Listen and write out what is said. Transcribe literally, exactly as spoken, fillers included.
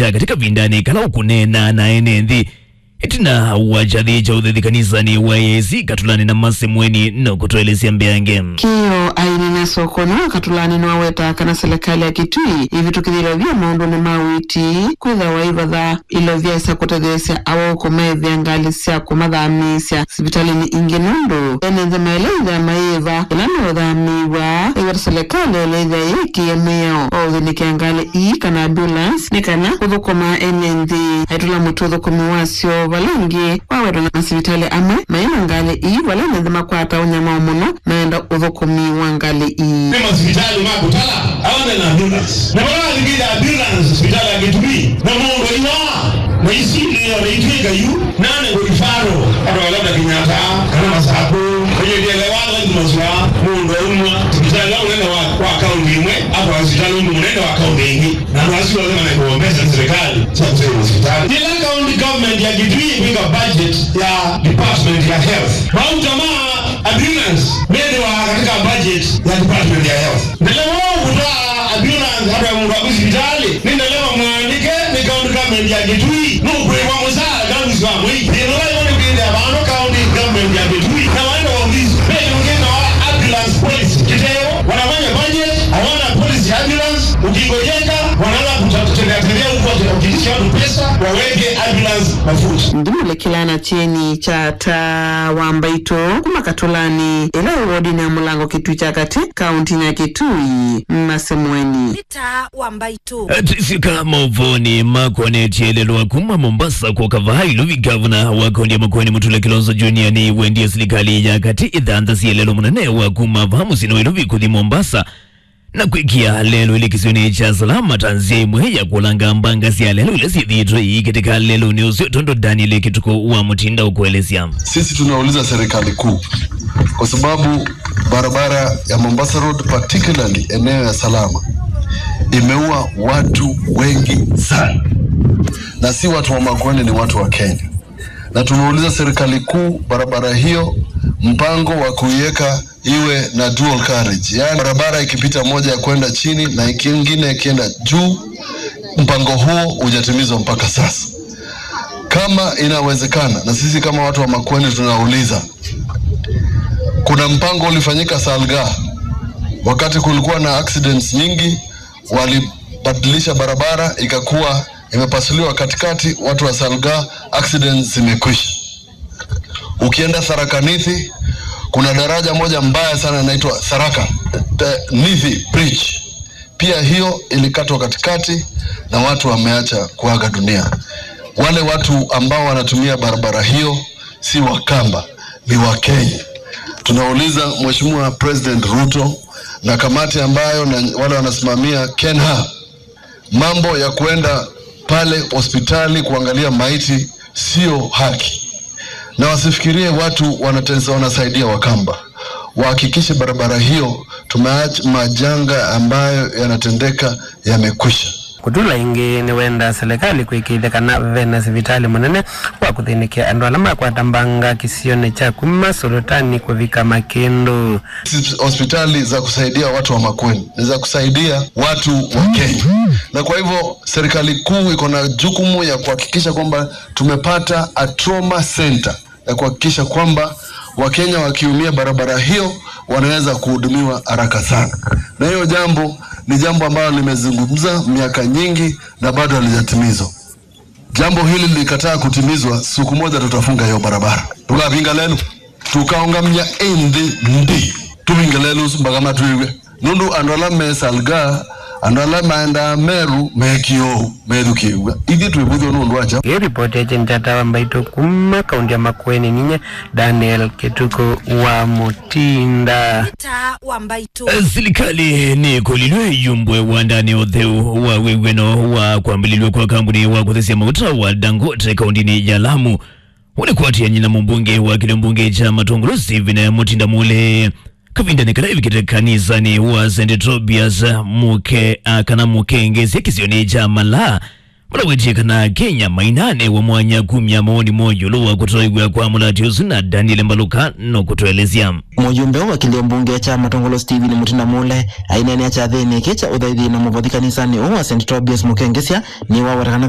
ya katĩ kavindanĩ kala ũkũneena na ene nthĩ. Ĩtina wa kyathĩ kya ũthaithi kanisanĩ wa A A C Katũlanĩ na Masemweni no kũtũelesya mbeange. Kĩo ainena soko nĩwe Katũlanĩ nĩwaweta kana silikalĩ ya Kitui ĩvĩtũkĩthĩlya vya maũndũnĩ ma ũiiti kwĩthĩwa ĩvatha ilovya ĩsa kũtetheesya awaũko maĩvĩa ngalĩ sya kũmathamĩĩsya sivitalĩnĩ ingĩ nũndũ ene nthĩ maĩle ĩthĩa mayĩva ĩla meũthamĩĩw'a ĩweta silikalĩ ĩla ĩthĩa yĩkĩe mĩao wa ũthĩnĩkĩa ngalĩ ii kana ambulance nĩ kana kũthũkũma ene nthĩ. Aitũla mũtĩ ũthũkũmi wasyo vala ĩngĩ wawetwa na masivitalĩ amwe maĩ na ngalĩ ii vala ene nthĩ makwata ũnyamao mũno maenda ũthũkũmi wa ngalĩ ii. Nĩ masivitalĩ ma kũtala aone na ambulance. Na vala wathikĩte ambulance sivitalĩ ya Kitui na mũndũ aiwaa na isilio na itwĩka yu nane ngũrifaro andũ ala ta Kenyatta kana Masaku. Kwenye ndielewa lazima zwa mũndũ aumwa sivitalĩ wa mũnene wa, wa kaunti ĩmwe atwa sivitalĩ ũndũ mũnene wa kaunti ĩngĩ. Na andũ asu othe manengewa mbesa nĩ serikali sya kũsaidia sivitalĩ. Kĩla county government ya Kitui ĩkwĩka budget ya department ya health. Mauta ma ambulance methĩwa katika budget ya department ya health. Ndeleva ũkũtwaa ambulance andũ ya mũndũ waku sivitalĩ nĩ ndeleva mwandĩke nĩ county government ya Kitui. Nũkwĩwa mũsaara kana mũsi wa mwei. Thĩna ũla ĩvo nĩ kwĩthĩa vano county government ya Kitui na waenda wa ofisi. Ve yũngĩ na wa ambulance policy. Kĩteo, wanafanya budget, hawana policy ya ambulance. Ukigonjeka, wanaanza kutembea tembea huko wakiitisha watu pesa, waweke ambulance mafuta. Ndimulekela na kyeni kya ta wa mbaitũ kuma Katũlanĩ, ĩla ĩ wodinĩ ya Mũlango Kitui kya Katĩ, kauntinĩ ya Kitui, Masemweni. Nĩ ta wa mbaitũ. Tũisyoka maũvoonĩ makonetye lelwa kuma Mombasa kũka vaa Ilovi, ngavana wa kaunti ya Makueni Mutula Kilonzo Junior nĩwendie silikalĩ ya katĩ ĩthanthasie lelwa mũnene wa kuma vaa mũsyĩnĩ wa Ilovi kũthi Mombasa na kwĩkĩa lelũ ĩlĩ kĩsionĩ kya Salama ta nzĩa ĩmwe ya kũlanga mbanga sya lelũ ila syĩthĩĩtwe iikĩtĩka lelũnĩ ũsu, tondũ Daniel Kituku wa Mutinda ũkũelesya. Sisi tunauliza serikali kuu kwa sababu barabara ya Mombasa Road, particularly eneo ya Salama, imeua watu wengi sana, na si watu wa Makueni, ni watu wa Kenya. Na tunauliza serikali kuu, barabara hiyo, mpango wa kuiweka iwe na dual carriage, yaani barabara ikipita moja ya kwenda chini na ingine ikienda juu, mpango huo hujatimizwa mpaka sasa. Kama inawezekana, na sisi kama watu wa Makueni tunauliza, kuna mpango ulifanyika Salga, wakati kulikuwa na accidents nyingi, walibadilisha barabara ikakuwa imepasuliwa katikati, watu wa Salga, accidents zimekwisha. Ukienda Tharaka Nithi, kuna daraja moja mbaya sana inaitwa Tharaka, the Nithi Bridge. Pia hiyo ilikatwa katikati na watu wameacha kuaga dunia. Wale watu ambao wanatumia barabara hiyo si Wakamba, ni Wakenya. Tunauliza Mheshimiwa President Ruto na kamati ambayo na wale wanasimamia KENHA, mambo ya kuenda pale hospitali kuangalia maiti sio haki, na wasifikirie watu wanatesa-, wanasaidia Wakamba. Wahakikishe barabara hiyo tumeacha majanga ambayo yanatendeka yamekwisha. Kutula ĩngĩ nĩwenda silikalĩ kwĩkĩĩthya kana vena sivitalĩ mũnene wa kũthĩnĩkĩa andũ ala makwata mbanga kĩsionĩ kya kuma Solotani kũvika Makĩndũ. Hospitali za kusaidia watu wa Makueni ni za kusaidia watu wa Kenya, na kwa hivyo serikali kuu iko na jukumu ya kuhakikisha kwamba tumepata a trauma center ya kuhakikisha kwamba Wakenya wakiumia barabara hiyo wanaweza kuhudumiwa haraka sana, na hiyo jambo ni jambo ambalo limezungumza miaka nyingi na bado halijatimizwa. Jambo hili likataa kutimizwa, siku moja tutafunga hiyo barabara. Tũkavinga lelũ, tũkaũngamya ĩ nthĩ nthĩ. Tũvinge lelũ ũsu mpaka matwĩw'e. Nũndũ andũ ala me Salga, andũ ala maendaa Meru, mekie ũu, methukĩĩw'a. Ithyĩ twĩvũthw'a nũndũ wa kyaũ? Ĩ ripoti ya Kyeni kya Tawa Mbaitũ kuma kaunti ya Makueni, ninyie Daniel Kĩtukũ wa Mutinda. Taa wa Mbaitũ. Silikalĩ nĩkũlilw'e yumbwe wandanĩ ũtheu wa wĩw'ano wa kwambĩlĩlw'a kwa kambuni wa kũthesya mauta wa Dangote kauntinĩ ya Lamu. Ũnĩ kwatiany'a na mũmbunge wa kĩlio mbunge kya Matũngũlũ Stephen Mutinda Mule kavindanĩ kala ĩvikĩte kanisanĩ wa Saint Tobias Mũke-, a, kana Mũkengesya kĩsionĩ kya Malaa. Vala wetie kana Kenya mainanewa mwanya kumya mawoni moo ĩũlũ wa kũtoew'a kwa mũlati ũsu na Daniel Mbaluka no kũtũelesya. Mũyumbe wa kĩlio mbunge kya Matũngũlũ Stephen Mutinda Mule aineenea kyathĩnĩ kĩ kya ũthaithi na mũvothi kanisanĩ ũũ wa Saint Tobias Mũkengesya nĩwaweta kana